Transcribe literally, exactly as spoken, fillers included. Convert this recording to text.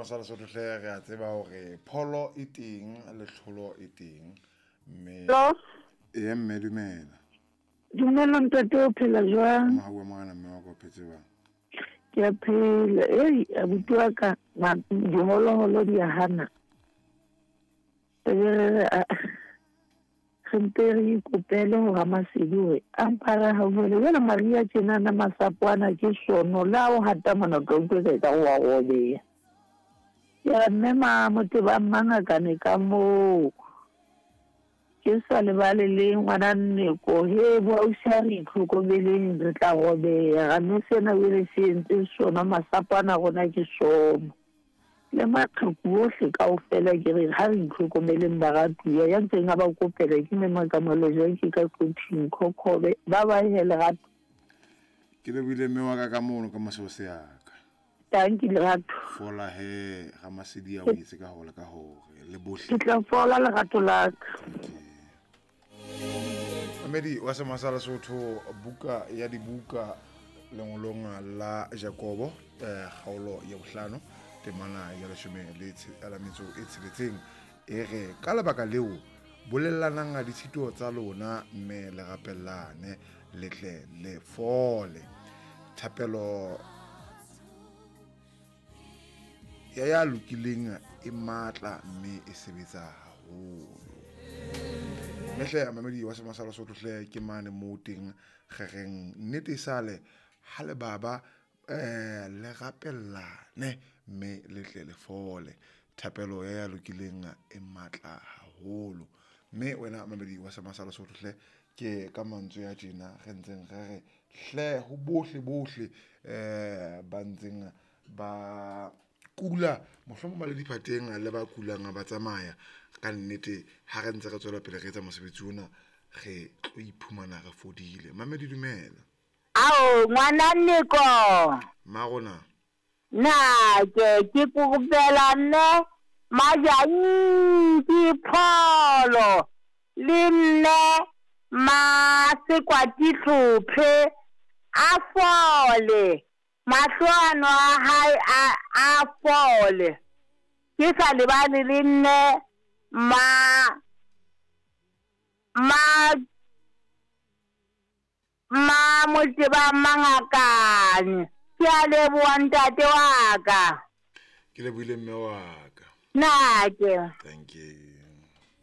sa Lesotho hle re a tseba hore pholo e teng le tlholo e teng mme Hello? Ee mme dumela. Dumela ntate, o phela jwang? Mohau wa morena mme wa ka o phetse jwang? Ke a phela. Ei, abuti wa ka, ma- diholoholo di a hana. E be re re, a- re mpe re ikopele ho Ramasedi hore a mpa re hauhele. Jwale mariha tjenana masapo ana ke sono, le ha o hata mona o tla utlwa e ka wa robeha. Ke re mme Mamotebang Mangakane ka moo. Ke sa lebale le ngwana Nneko, he bo ausi ha re itlhokomeleng re tla robeha. Mme sena jwale se entse sona masapo ana a rona ke sono. Le maqheku ohle kaofela ke re ha re itlhokomeleng baratuwa. Ya ntseng a ba kopela ke mme Makamalo Jaki ka Quthing Khokhobe. Ba bye he lerato. Ke lebohile mme wa ka ka mono ka mosebose ya ka. Tanki lerato. Fola he Ramasedi a o etse ka hore ka hore le bohle. Ke tla fola lerato la ka. Mamedi wa Sema sa Lesotho, buka ya dibuka lengolong la Jakobo eh, kgaolo ya bohlano temana ya leshome le tshe- la metso e tsheletseng e re ka lebaka leo bolellanang ditshito tsa lona mme le rapellane le tle le fole. Thapelo ya ya lokileng e matla mme e sebetsa haholo. Mme hle mamedi wa Sema sa Lesotho hle ke mane moo teng re reng nnete e sale ha le baba eh le rapellane mme le tle le fole. Thapelo ya ya lokileng e matla haholo. Mme wena mamedi wa Sema sa Lesotho hle ke ka mantswe a tjena re ntseng re re hle ho bohle bohle eh ba ntseng ba kula mohlomong ba le diphateng le ba kulang ba tsamaya ka nnete ha re ntse re tswela pele re etsa mosebetsi ona re tlo iphumana re fodile. Mamedi dumela. Ao ngwana Nneko. Mmarona. Na ke ke kopela nne Majantsi Pholo le nne Masekwati Hlophe a fole, mahlo ano a hae a a fole. Ke sa lebale le nne ma ma ma Motebang Mangakane. Ke a leboha ntate wa ka. Ke lebohile mme wa ka. Nake. Thank you.